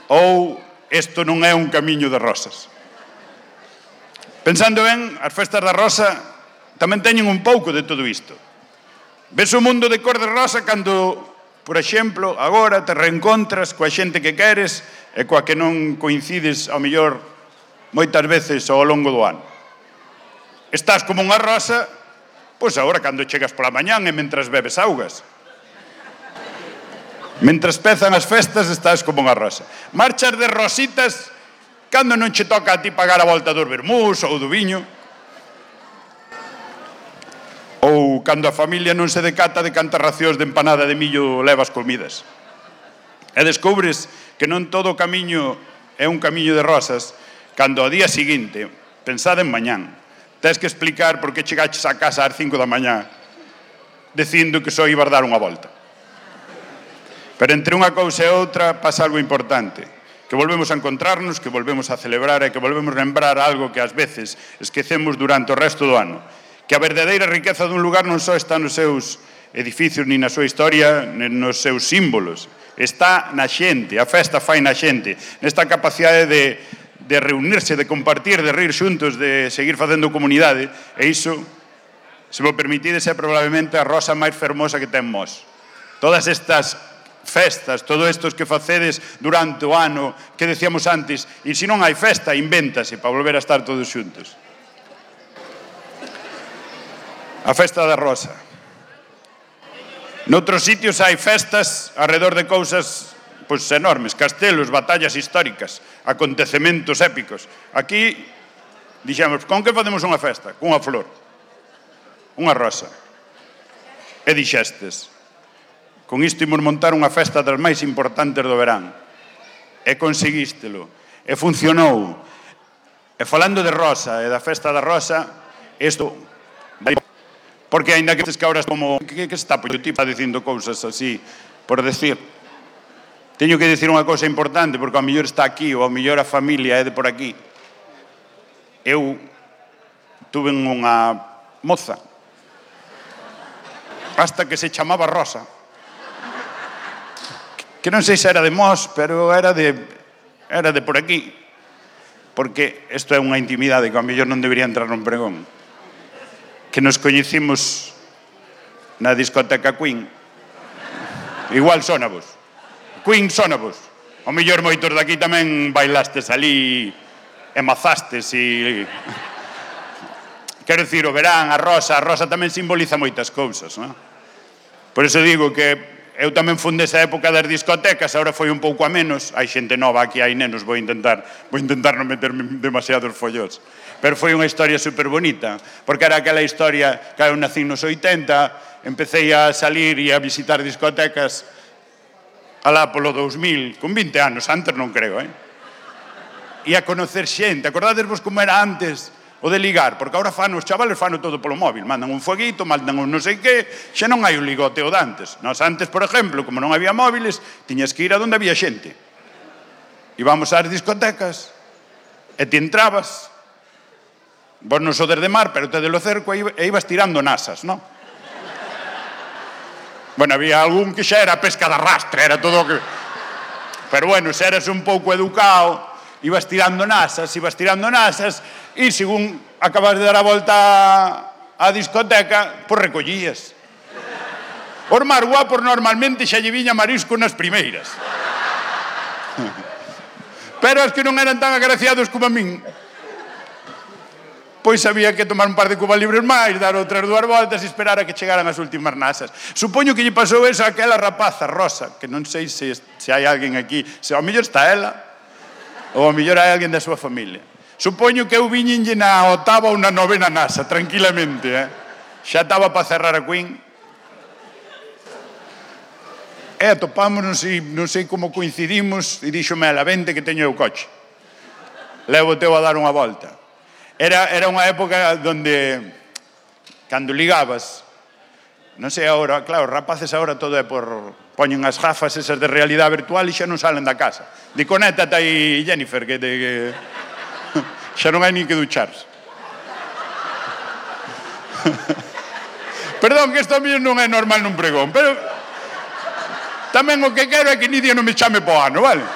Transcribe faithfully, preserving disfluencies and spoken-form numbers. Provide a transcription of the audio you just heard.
ou isto non é un camiño de rosas. Pensando ben, as festas da rosa tamén teñen un pouco de todo isto. Ves o mundo de cor de rosa cando, por exemplo, agora te reencontras coa xente que queres e coa que non coincides, ao mellor, moitas veces ao longo do ano. Estás como unha rosa, pois agora cando chegas pola mañán e mentras bebes augas. Mentras pezan as festas, estás como unha rosa. Marchas de rositas cando non che toca a ti pagar a volta dos vermús ou do viño. Ou cando a familia non se decata de cantas racións de empanada de millo levas comidas. E descubres que non todo o camiño é un camiño de rosas cando ao día seguinte, pensada en mañán, tens que explicar por que chegaches a casa ás cinco da mañá dicindo que só ibas dar unha volta. Pero entre unha cousa e outra pasa algo importante, que volvemos a encontrarnos, que volvemos a celebrar e que volvemos a lembrar algo que ás veces esquecemos durante o resto do ano, que a verdadeira riqueza dun lugar non só está nos seus edificios, ni na súa historia, ni nos seus símbolos, está na xente, a festa fai na xente, nesta capacidade de, de reunirse, de compartir, de rir xuntos, de seguir facendo comunidade, e iso, se vos permitides, é probablemente a rosa máis fermosa que temos. Todas estas festas, todos estos que facedes durante o ano, que decíamos antes, e se non hai festa, invéntase para volver a estar todos xuntos. A festa da rosa. Noutros sitios hai festas alrededor de cousas pois, enormes, castelos, batallas históricas, acontecementos épicos. Aquí, dixemos, con que facemos unha festa? Cunha flor, unha rosa. E dixestes, con isto imos montar unha festa das máis importantes do verán. E conseguístelo. E funcionou. E falando de rosa e da festa da rosa, isto... Porque ainda que estes cabras como... Que, que está pollo tipo dicindo cousas así, por decir? Teño que dicir unha cousa importante, porque ao mellor está aquí, ou ao mellor a familia é de por aquí. Eu tuve unha moza, hasta que se chamaba Rosa, que non sei se era de Mos, pero era de, era de por aquí. Porque isto é unha intimidade que ao mellor non debería entrar nun pregón. Que nos coñecimos na discoteca Queen. Igual sónavos. Queen sónavos. Ao mellor moitos daqui tamén bailastes ali e mazastes e... Quero dicir, o verán, a rosa, a rosa tamén simboliza moitas cousas, non? Por iso digo que eu tamén fun desa época das discotecas, agora foi un pouco a menos, hai xente nova aquí, hai nenos, vou intentar vou intentar non meterme demasiados follós, pero foi unha historia super bonita, porque era aquela historia que eu nací nos oitenta, empecé a salir e a visitar discotecas alá polo dous mil, con vinte anos, antes non creo, eh? E a conocer xente, acordadesvos como era antes o de ligar, porque agora fan os chavales fano todo polo móvil, mandan un fueguito, mandan un non sei que, xa non hai un ligoteo de antes. Nos antes, por exemplo, como non había móviles, tiñas que ir a donde había xente. Íbamos ás discotecas, e ti entrabas, vos non sodes de mar, pero te de lo cerco, e ibas tirando nasas, non? Bueno, había algún que xa era pesca de arrastre, era todo o que... Pero bueno, se eras un pouco educado, ibas tirando nasas, ibas tirando nasas, e según acabas de dar a volta á discoteca, pois recollías. Os máis guapos normalmente xa lle viña marisco nas primeiras. Pero as que non eran tan agraciados como a min, pois había que tomar un par de cubas libres máis, dar outras dúas voltas e esperar a que chegaran as últimas nasas. Supoño que lle pasou eso a aquela rapaza Rosa, que non sei se, se hai alguén aquí, se ao mellor está ela, ou ao mellor hai alguén da súa familia. Supoño que eu viñenlle na octava ou na novena nasa, tranquilamente, eh? Xa estaba para cerrar a Queen. E atopámonos e non sei como coincidimos, e díxome ela, vente que teño o coche. Levo teu a dar unha volta. Era, era unha época donde, cando ligabas, non sei agora, claro, rapaces agora todo é por... Poñen as gafas esas de realidade virtual e xa non salen da casa. Di, conéctate aí, Jennifer, que... Te, que... xa non hai nin que ducharse. Perdón, que isto a mí non é normal nun pregón, pero tamén o que quero é que Nidia non me chame po ano, vale?